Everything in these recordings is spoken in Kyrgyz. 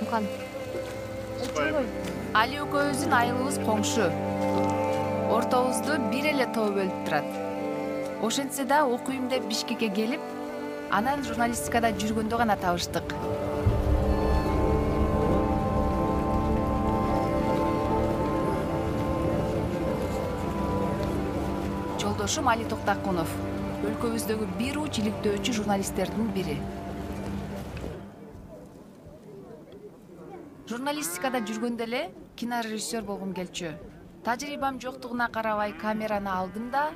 Айымкан. Али экөөбүздүн айылыбыз коңшу. Ортобузду бир эле тоо бөлүп турат. Ошентсе да окуйм деп Бишкекке келип, анан журналистикада жүргөндө гана табыштык. Жолдошум Али Токтакунов, өлкөбүздөгү бир уч иликтөөчү журналисттердин бири. Журналистикада жүргөндө эле кинорежиссер болгум келчү. Тажрыйбам жоктугуна карабай камераны алдым да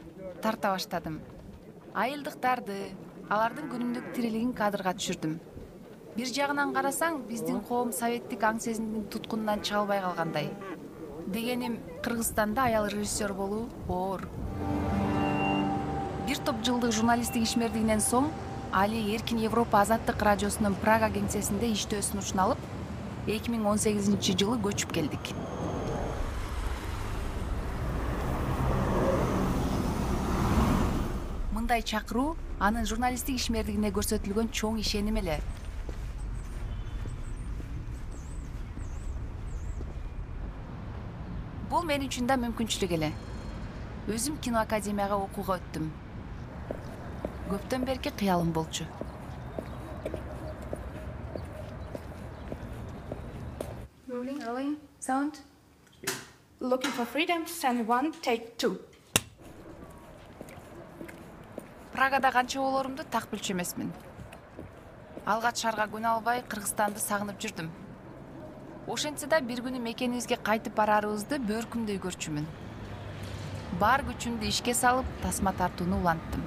тарта баштадым. Айылдыктарды, алардын күнүмдүк тирилигин кадрга түшүрдүм. Бир жагынан карасаң, биздин коом советтик аң сезимдин туткунунан чыга албай калгандай. Дегеним, Кыргызстанда аял режиссер болуу оор. Бир топ жылдык журналисттик ишмердигинен соң Али Эркин Европа Азаттык радиосунун Прага кеңсесинде иштөө сунушун алып, 2018-жылы көчүп келдик. Мындай чакыруу анын журналисттик ишмердигине көрсөтүлгөн чоң ишеним эле. Бул мен үчүн да мүмкүнчүлүк эле. Өзүм киноакадемияга окууга өттүм. Көптөн берки кыялым болчу. Rolling, sound. Looking for freedom, stand 1, take 2. Прагада канча болорумду так билчү эмесмин. Алгач шаарга көнө албай Кыргызстанды сагынып жүрдүм. Ошентсе да бир күнү мекенибизге кайтып барарыбызды бөркүмдөй көрчүмүн. Бар күчүмдү ишке салып, тасма тартууну уланттым.